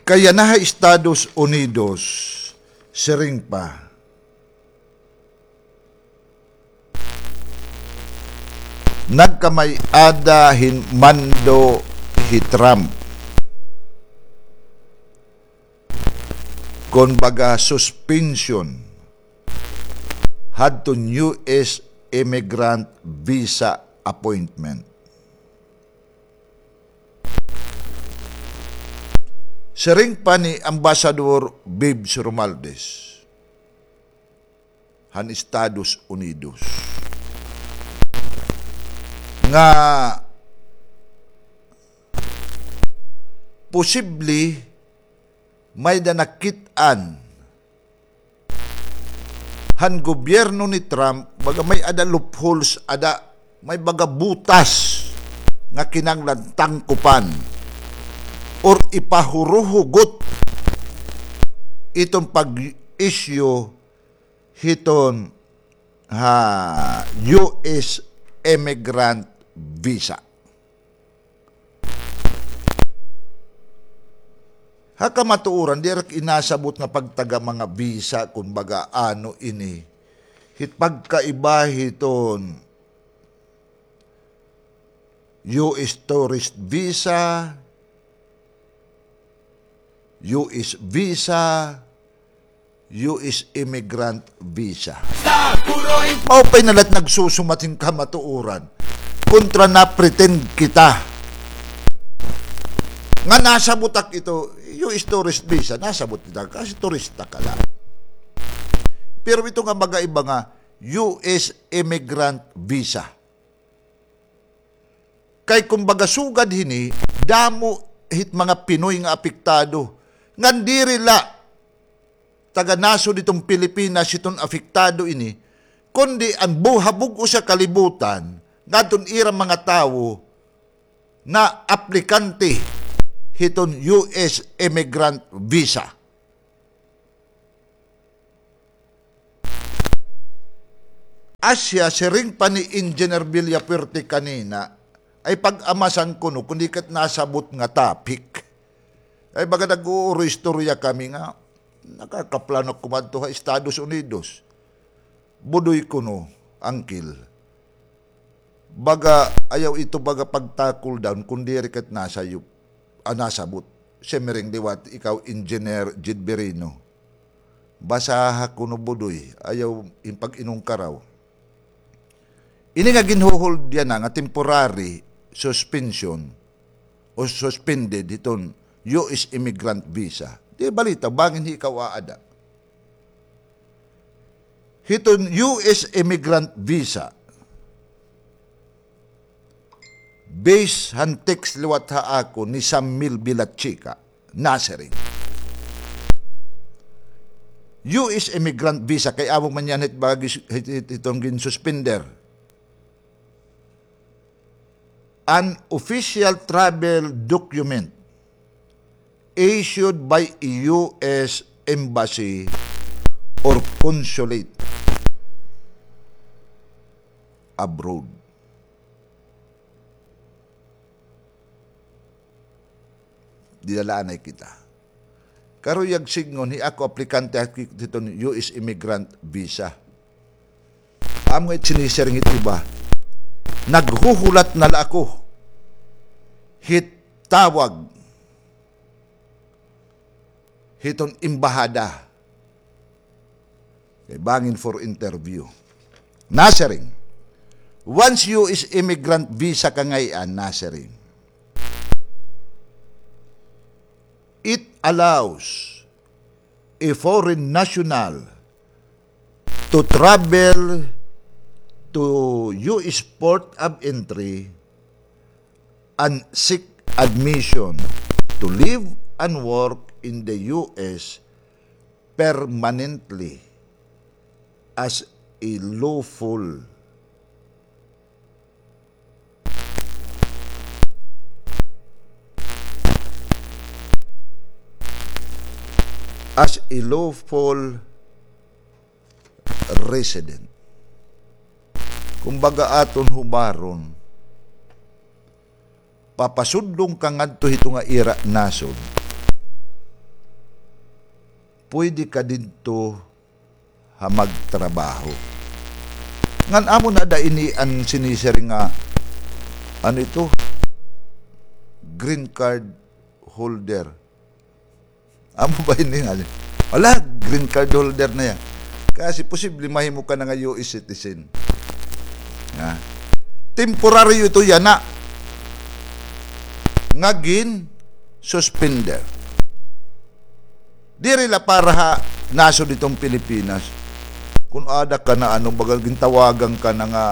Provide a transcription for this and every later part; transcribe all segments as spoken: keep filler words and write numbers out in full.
Kay yana ha Estados Unidos, siring pa, nagkamay-ada hin mando hi Trump kon baga suspension hadton U S immigrant visa appointment. Siring pa ni Ambassador Bibs Romualdez han Estados Unidos nga posible may-ada nakit-an han gobyerno ni Trump, baga may-ada loopholes, ada, may baga butas nga kinahanglan tangkupan or ipahuruhugot iton pag-issue hiton ha U S immigrant visa. Ha kamatuoran, diri ak inasabot nga pagtaga mga visa, kon baga ano ini, hit pagkaiba hiton U S tourist visa, U S visa, U S immigrant visa. Mao pa'y na la it nagsusumat hin kamatuoran. Kontra na-pretend kita nga nasabot ak ito, U S tourist visa, nasabot kita kasi turista ka la. Pero ito nga mga iba nga U S immigrant visa. Kay kumbaga sugad hini, damo hit mga Pinoy nga apektado. Ngan diri la taga-nasod hiton Pilipinas hiton apektado ini, kundi an buhabog-os nga kalibutan ngadton ira mga tawo na aplikante hiton U S immigrant visa. Asya, siring pa ni Engineer Villafuerte kanina, ay pag-amasan kuno kon di kat nasabot nga topic. Ay baga nag-uuro-istorya kami nga, nakakaplano kumadto ha Estados Unidos. Budoy kuno, Uncle. Baga, ayaw ito baga pag-tackle down, kon diri kat nasayop, ah, nasabot. Siring liwat ikaw, Engineer Jid Birino. Basaha kuno, Budoy, ayaw in pag-inungkaraw. Ini nga ginhuhold yana nga temporary suspension o suspended hiton U S immigrant visa. Di balita, bangin hi ikaw aada. Hiton U S immigrant visa, base han text liwat ha akon ni Sam Mil Villachica, nasiring, U S immigrant visa, kay amo man yana hit bagi, hit, hit, hiton ginsuspender. An official travel document issued by a U S embassy or consulate abroad. Dinalaanay kita. Karuyag sidngon, hi ako aplikante hiton U S immigrant visa. Amo nga it sinisiring hit iba, naghuhulat na la ako hit tawag hiton embahada. Kay bangin for interview. Nasiring, once U S immigrant visa ka ngay-an, nasiring, it allows a foreign national to travel to U S port of entry and seek admission to live and work in the U S permanently as a lawful, as a lawful resident. Kumbaga, aton hubaron, papasudlon ka ngadto hito nga ira nasod, Pwede ka didto ha magtrabaho. Ngan amo na da ini an sinisiring nga, ano ito? Green card holder. Amo ba ini nga? Wala, green card holder na iya. Kasi posible mahimo ka na nga U S citizen. Ha? Temporaryo ito yana nga gin-suspender. Diri la para ha nasod hiton Pilipinas. Kun ada ka na, ano, baga gintawagan ka na nga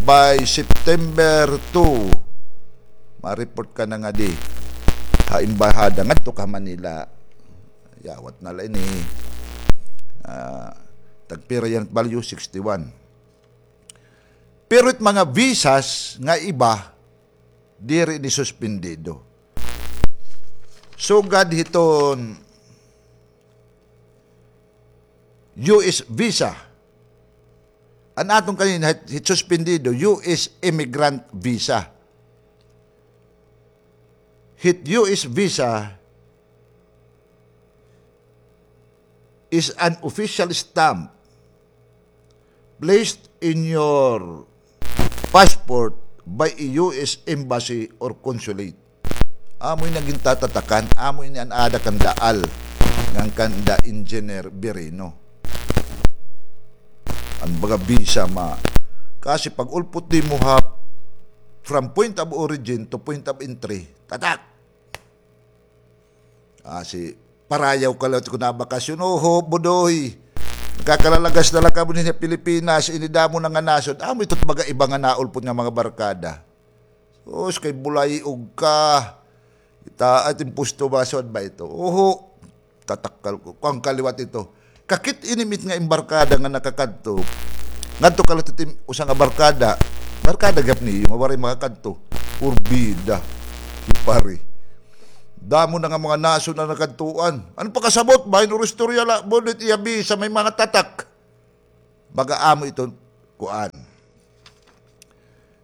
by September two, ma-report ka na ngadi ha embahada, ngadto ka ha Manila. Yawat na la ini. Ah, tagpira yana it value, sixty-one. Pero it mga visas nga iba, diri ini suspendido. Sugad hiton U S visa. An aton kanina, hit, hit suspendido, U S immigrant visa. Hit U S visa is an official stamp placed in your passport by a U S embassy or consulate. Amo ini an gintatatakan, amo ini an aada kan daal, ngan kanda Engineer Birino. An baga visa ma-, kasi pag-ulpot nimo ha, from point of origin to point of entry, tatak! Ah, si parayaw ka la kun nabakasyon. Oho, Bodoy. Nakakalalagas na la kamo dinhi ha Pilipinas, ini damo na nga nasod. Amo ito baga iba nga naulpot nga mga barkada. Sus, kay bulay-og ka. Ita, at impusto ba, sud ba ito? Oho. Tatak ka, kuan ka liwat ito. Kakit-in it nga embarkada nga nakakadto. Ngadto ka la hit usa nga barkada. Barkada gihap niyo nga waray makakadto. Porbida. Hipari. Damo na nga mga nasod an nakadtuan. Ano pakasabot? Bahin oro istorya la, budit iya visa may mga tatak. Baga amo ito, kuan.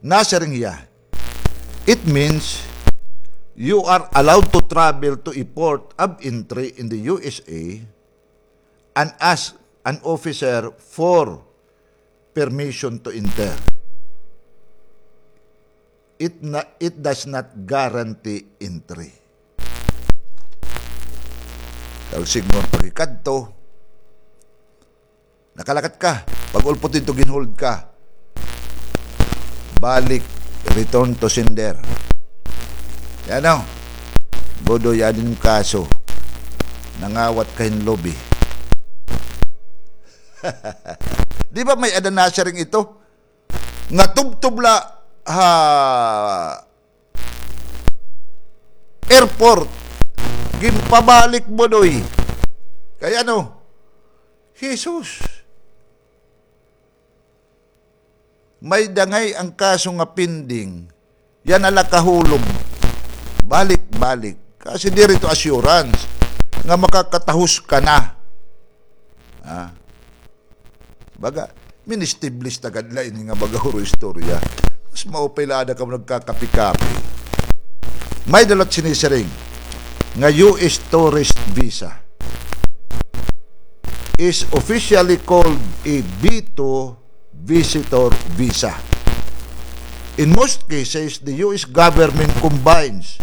Nasiring hiya, it means you are allowed to travel to a port of entry in the U S A and ask an officer for permission to enter. It na-, it does not guarantee entry. Tawag siguro pagikadto, nakalakat ka, pag-ulpot didto, ginhold ka. Balik, return to sender. Yan o. Bodoy, adi an im kaso. Nangawat ka hin lobi. Di ba may-ada nasiring ito? Nga tubtob la ha airport. Ginpabalik, Bodoy. Kay ano? Jesus. May-ada ngay-an kaso nga pending. Yana la kahulog. Balik-balik. Kasi diri ito assurance nga makakatahos ka na. Ah. Baga, ministiblis ta gad la ini nga baga oro istorya. Mas maupay la ada kamo nagkakapi-kapi. May-ada la sinisiring nga U S tourist visa is officially called a B two visitor visa. In most cases, the U S government combines,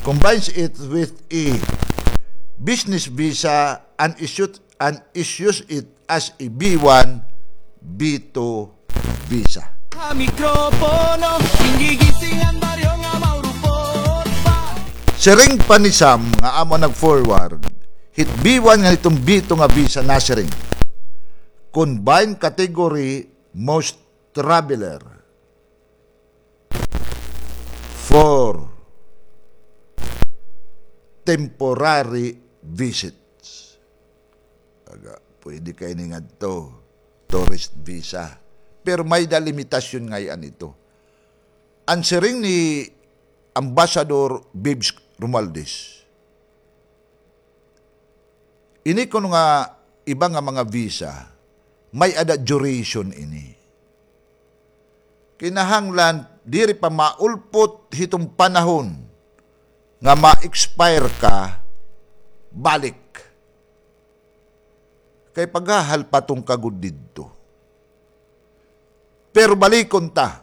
combines it with a business visa and issues, and issues it as a B one, B two visa. Ha mikropono, gingigising an baryo nga maurupot pa. Siring pa ni Sam nga amo nag-forward, hit B one ngan hiton B two nga visa nasiring, combined category most traveler for temporary visits. Aga, pwede ka ini ngadto, tourist visa. Pero may-ada limitasyon ngay-an ito. An siring ni Ambassador Bibs Romualdez, ini kuno nga iba nga mga visa, may-ada duration ini. Kinahanglan diri pa maulpot hiton panahon nga ma-expire ka, balik. Kay paghahalpaton ka gud didto. Pero balikon ta,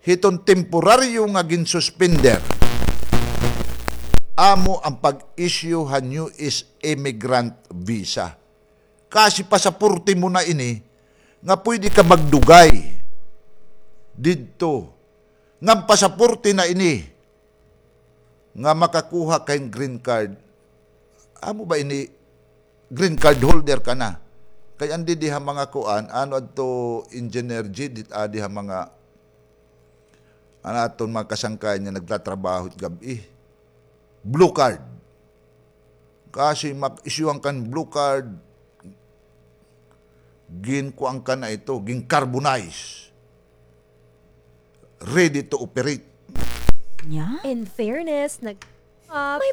hiton temporaryo nga ginsuspender, amo an pag-issue han U S immigrant visa. Kasi pasaporte mo na ini nga pwede ka magdugay didto. Nga pasaporte na ini nga makakuha ka hin green card. Amo ba ini green card holder ka na? Kay andi di ha mga kuan, ano adto, Engineer G, dit adi ha mga, ano aton mga kasangkayan nga nagtatrabaho it gab-i. Blue card. Kasi mag-issue-an kan blue card, ginkuan ka na ito, gin-carbonize. Ready to operate. Nya? In fairness, nag-, ah, may